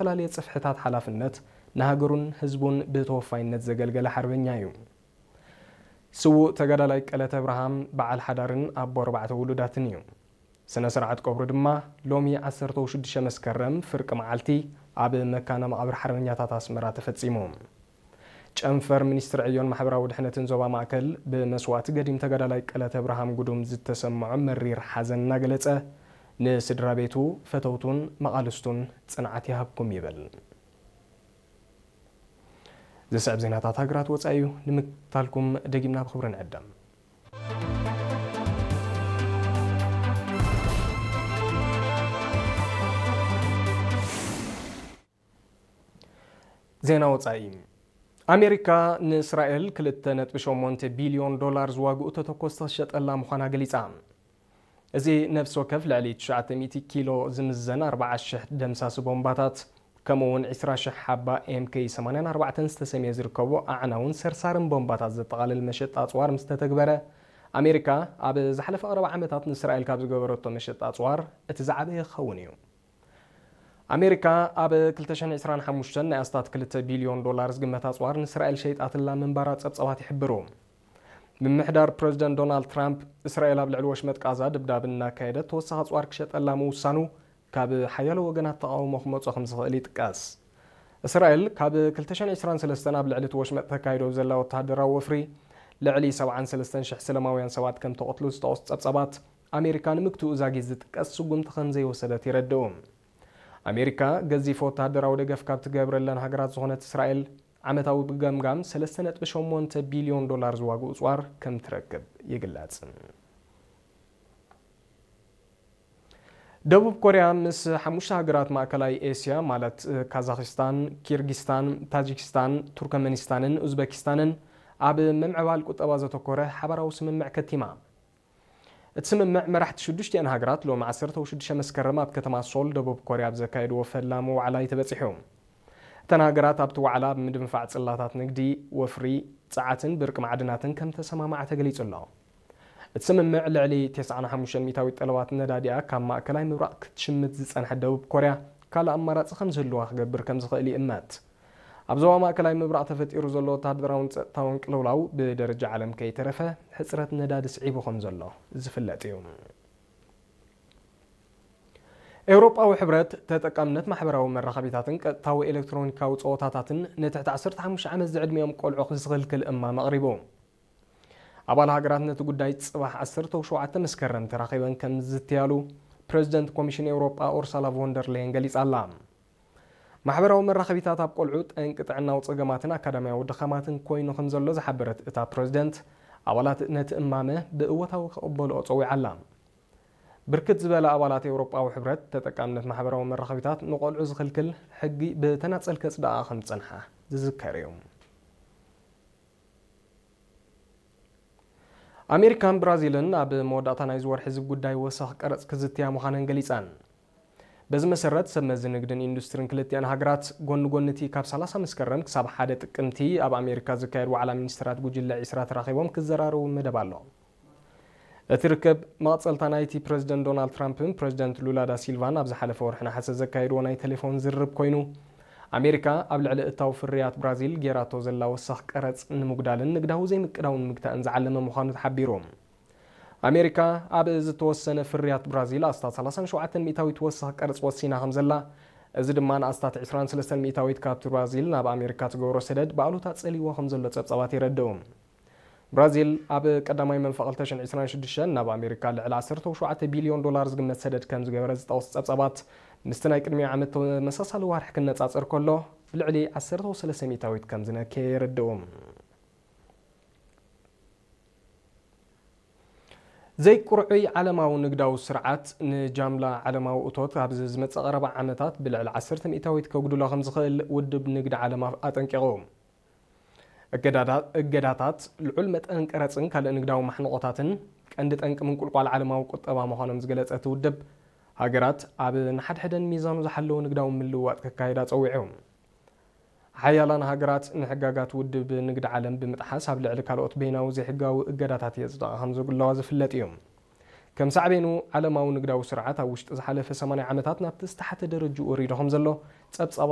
ዝተፈላለየ ጽፍሕታት ሓላፍነት ንሃገሩን ህዝቡን ብተወፋይነት ዘገልገለ ሓርበኛ እዩ። ስዉእ ተጋዳላይ ቀለተ ኣብርሃም በዓል ሓዳርን ኣቦ ኣርባዕተ ውሉዳትን እዩ። ስነ ስርዓት ቀብሩ ድማ ሎሚ ዓሰርተ ሽዱሽተ መስከረም ፍርቂ መዓልቲ ኣብ መካነ መቓብር ሓርበኛታት ኣስመራ ተፈጺሙ። ጨንፈር ሚኒስትሪ ዕዮን ማሕበራዊ ድሕነትን ዞባ ማእከል ብመስዋእቲ ገዲም ተጋዳላይ ቀለተ ኣብርሃም ጉዱም ዝተሰምዖ መሪር ሓዘን እናገለጸ፣ ንስድራ ቤቱ፣ ፈተውቱን መቓልስቱን ጽንዓት ይሃብኩም ይብል። ዝስዕብ ዜናታት ሃገራት ወጻኢ እዩ። ንምክታልኩም ደጊምና ብኽብሪ ንዕደም። ዜና ወጻኢ። ኣሜሪካ ንእስራኤል ክልተ ነጥቢ ሸሞንተ ቢልዮን ዶላር ዝዋግኡ ተተኮስቲ ክሸጠላ ምዃና ገሊጻ። እዚ ነፍሲ ወከፍ ልዕሊ ትሽዓተ ሚእቲ ኪሎ ዝምዘን ኣርብዓ ሽሕ ደምሳሲ ቦምባታት፣ ከምኡ እውን ዕስራ ሽሕ ሓባ ኤም ኬይ ሰማንያን ኣርባዕተን ዝተሰምየ ዝርከቦ ኣዕናውን ሰርሳርን ቦምባታት ዘጠቓልል መሸጣ ኣጽዋር ምስ ተተግበረ፣ ኣሜሪካ ኣብ ዝሓለፈ ቀረባ ዓመታት ንእስራኤል ካብ ዝገበረቶ መሸጣ ኣጽዋር እቲ ዝዓበየ ክኸውን እዩ። ኣሜሪካ ኣብ ክልተ ሽሕን ዕስራን ሓሙሽተን ናይ ኣስታት ክልተ ቢልዮን ዶላር ዝግመት ኣጽዋር ንእስራኤል ሸይጣትላ ምንባራ ጸብጻባት ይሕብሩ። ምምሕዳር ፕረዚደንት ዶናልድ ትራምፕ፣ እስራኤል ኣብ ልዕሊ ወሽመጥ ቃዛ ድብዳብ እናካየደት ተወሳኺ ኣጽዋር ክሸጠላ ምውሳኑ፣ ካብ ሓያሎ ወገናት ተቓውሞ ክመጾ ከም ዝኽእል ይጥቀስ። እስራኤል ካብ ክልተ ሽሕን ዕስራን ሰለስተን ኣብ ልዕሊ እቲ ወሽመጥ ተካይዶ ዘላ ወተሃደራዊ ወፍሪ፣ ልዕሊ ሰብዓን ሰለስተን ሽሕ ሰለማውያን ሰባት ከም ተቐትሉ ዝጠቕሱ ጸብጻባት፣ ኣሜሪካ ንምግትኡ ዛጊት ዝጥቀስ ስጉምቲ ከም ዘይወሰደት የረድኡ። ኣሜሪካ ገዚፍ ወተሃደራዊ ደገፍ ካብ ትገብረለን ሃገራት ዝኾነት እስራኤል፣ ዓመታዊ ብገምጋም ሰለስተ ነጥቢ ሸሞንተ ቢልዮን ዶላር ዝዋግኡ ኣጽዋር ከም ትረክብ ይግለጽ። ደቡብ ኮርያ ምስ ሓሙሽተ ሃገራት ማእከላይ ኤስያ፣ ማለት ካዛኽስታን፣ ኪርጊስታን፣ ታጂክስታን፣ ቱርከመኒስታንን ኡዝበኪስታንን፣ ኣብ ምምዕባል ቁጠባ ዘተኮረ ሓባራዊ ስምምዕ ከቲማ። እቲ ስምምዕ መራሕቲ ሽዱሽቲኣን ሃገራት ሎሚ ዓሰርተ ሽዱሽተ መስከረም ኣብ ከተማ ሶል፣ ደቡብ ኮርያ፣ ኣብ ዘካየድዎ ፈላሚ ዋዕላ እዩ ተበጺሑ። እተን ሃገራት ኣብቲ ዋዕላ ኣብ ምድንፋዕ ጽላታት ንግዲ፣ ወፍሪ፣ ጸዓትን ብርቂ ማዕድናትን ከም ተሰማማዓ ተገሊጹ ኣሎ። እቲ ስምምዕ፣ ልዕሊ ተስዓን ሓሙሽተን ሚእታዊት ጠለባት ነዳዲኣ ካብ ማእከላይ ምብራቕ ክትሽምት ዝጸንሐት ደቡብ ኮርያ፣ ካልእ ኣማራጺ ከም ዝህልዋ ክገብር ከም ዝኽእል ይእመት። ኣብ ዞባ ማእከላይ ምብራቕ ተፈጢሩ ዘሎ ወተሃደራውን ጸጥታውን ቅልውላው፣ ብደረጃ ዓለም ከይተረፈ፣ ሕጽረት ነዳዲ ስዒቡ ከም ዘሎ ዝፍለጥ እዩ። ኤውሮጳዊ ሕብረት፣ ተጠቃምነት ማሕበራዊ መራኸቢታትን ቀጥታዊ ኤሌክትሮኒካዊ ጸወታታትን ንትሕቲ ዓሰርተ ሓሙሽተ ዓመት ዝዕድሚኦም ቆልዑ ክዝኽልክል እማም ኣቕሪቡ። ኣባል ሃገራት ነቲ ጉዳይ ጽባሕ ዓሰርተ ሸውዓተ መስከረም ተራኺበን ከም ዝዝትያሉ ፕረዚደንት ኮሚሽን ኤውሮጳ ኡርሳላ ቮን ደር ሌየን ገሊጻ ኣላ። ማሕበራዊ መራኸቢታት ኣብ ቆልዑ ጠንቂ ጥዕናዊ ጸገማትን ኣካዳሚያዊ ድኻማትን ኮይኑ ከም ዘሎ ዝሓበረት እታ ፕረዚደንት፣ ኣባላት ነቲ እማመ ብእወታዊ ክቕበልኦ ጸዊዓ ኣላ። ብርክት ዝበላ ኣባላት ኤውሮጳዊ ሕብረት፣ ተጠቃምነት ማሕበራዊ መራኸቢታት ንቆልዑ ዝኽልክል ሕጊ ብተናጸል ከጽድቓ ከም ዝጸንሓ ዝዝከር እዩ። ኣሜሪካን ብራዚልን ኣብ መወዳእታ ናይዚ ወርሒ እዚ ጉዳይ ወሰኽ ቀረጽ ክዝትያ ምዃነን ገሊጸን። በዚ መሰረት፣ ሰብ መዚ ንግድን ኢንዱስትሪን ክልቲኣን ሃገራት፣ ጎኒ ጎኒ እቲ ካብ ሰላሳ መስከረም ክሳብ ሓደ ጥቅምቲ ኣብ ኣሜሪካ ዝካየድ ዋዕላ ሚኒስትራት ጉጅለ ዒስራ ተራኺቦም ክዘራረቡ መደብ ኣሎ። እቲ ርክብ፣ መቐጸልታ ናይቲ ፕረዚደንት ዶናልድ ትራምፕን ፕረዚደንት ሉላ ዳ ሲልቫን ኣብ ዝሓለፈ ወርሒ ነሓሰ ዘካየድዎ ናይ ቴሌፎን ዝርርብ ኮይኑ፣ ኣሜሪካ ኣብ ልዕሊ እታው ፍርያት ብራዚል ጌራቶ ዘላ ወሳኽ ቀረጽ ንምጉዳልን ንግዳዊ ዘይምቅዳውን ምግታእን ዝዓለመ ምዃኑ ተሓቢሩ። ኣሜሪካ ኣብ ዝተወሰነ ፍርያት ብራዚል ኣስታት ሰላሳን ሸውዓተን ሚእታዊት ወሳኽ ቀረጽ ወሲና ከም ዘላ፣ እዚ ድማ ንኣስታት ዕስራን ሰለስተን ሚእታዊት ካብቲ ብራዚል ናብ ኣሜሪካ ትገብሮ ሰደድ ብኣሉታ ጸልይዎ ከም ዘሎ ጸብጻባት የረድኡ። ብራዚል ኣብ ቀዳማይ መንፈቕ ክልተ ሽሕን ዕስራን ሽዱሽተን ናብ ኣሜሪካ ልዕሊ ዓሰርተ ሸውዓተ ቢልዮን ዶላር ዝግመት ሰደድ ከም ዝገበረ ዝጠቕሱ ጸብጻባት፣ ምስቲ ናይ ቅድሚ ዓመት ተመሳሳሊ ዋርሒ ክነጻጸር ከሎ፣ ብልዕሊ ዓሰርተ ሰለስተ ሚእታዊት ከም ዝነከየ የረድኡ። ዘይቁርዑይ ዓለማዊ ንግዳዊ ስርዓት ንጃምላ ዓለማዊ እቶት ኣብዚ ዝመጽእ ቀረባ ዓመታት ብልዕሊ ዓሰርተ ሚእታዊት ከጉድሎ ከም ዝኽእል ውድብ ንግዲ ዓለም ኣጠንቂቑ። እገዳዳ-፣ እገዳታት፣ ልዑል መጠን ቀረጽን ካልእ ንግዳዊ ማሕንቖታትን ቀንዲ ጠንቂ ምንቁልቋል ዓለማዊ ቁጠባ ምዃኖም ዝገለጸ እቲ ውድብ፣ ሃገራት ኣብ ንሓድሕደን ሚዛኑ ዝሓለወ ንግዳዊ ምልውዋጥ ከካይዳ ጸዊዑ። ሓያላን ሃገራት ንሕጋጋት ውድብ ንግዲ ዓለም ብምጥሓስ ኣብ ልዕሊ ካልኦት በይናዊ ዘይሕጋዊ እገዳታት የጽድቓ ከም ዘለዋ ዝፍለጥ እዩ። ከም ሳዕቤኑ፣ ዓለማዊ ንግዳዊ ስርዓት ኣብ ውሽጢ ዝሓለፈ ሰማንያ ዓመታት ናብቲ ዝተሓተ ደረጅኡ ወሪዱ ከም ዘሎ ጸብጻባት